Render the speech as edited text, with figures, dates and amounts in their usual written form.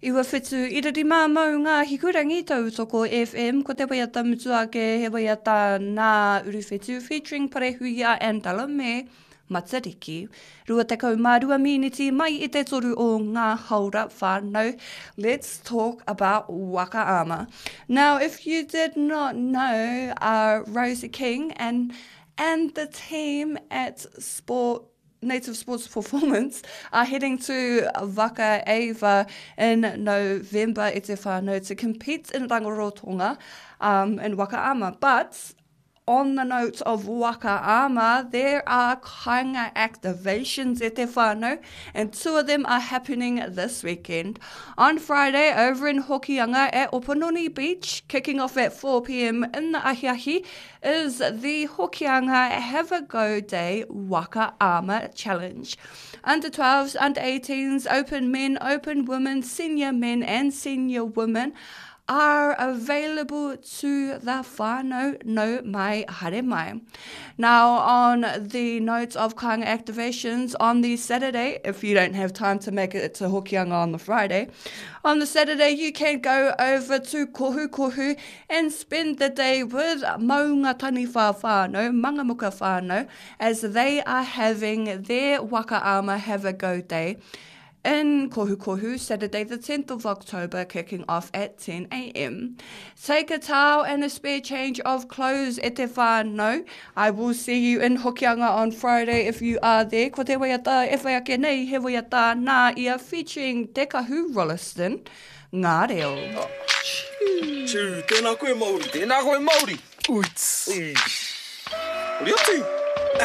975 Maunga Hikurangi Tautoko FM Ko te waiata mutu ake he waiata nā Uruwhetū featuring Parehuia and Delamere Matariki. 22 mīniti mai i te toru o ngā haora whānau. Let's talk about Waka Ama. Now, if you did not know, uh, Rosie King and and the team at Sport Native Sports Performance are heading to Vaka Ava in November e te whānau to compete in Rangorotonga um, in Waka Ama. But on the note of Waka Ama, there are kainga activations e te whānau, and two of them are happening this weekend. On Friday, over in Hokianga at Opononi Beach, kicking off at 4pm in the ahiahi, is the Hokianga Have a Go Day Waka Ama Challenge. Under 12s, under 18s, open men, open women, senior men and senior women are available to the whānau no mai haere mai. Now on the notes of kāinga activations on the Saturday, if you don't have time to make it to Hokianga on the Friday, on the Saturday you can go over to Kohu Kohu and spend the day with Maunga Taniwha whānau, Mangamuka whānau, as they are having their Waka Ama Have a Go Day in Kohukohu, Saturday the 10th of October, kicking off at 10am. Take a towel and a spare change of clothes e te whānau. I will see you in Hokianga on Friday if you are there. Ko te waiata e whai ake nei, he waiata nā ia featuring Te Kahu Rolleston. Ngā reo. Tū, tēnā koe Māori. Tēnā koe Māori. Uits. Ui. Hori atu.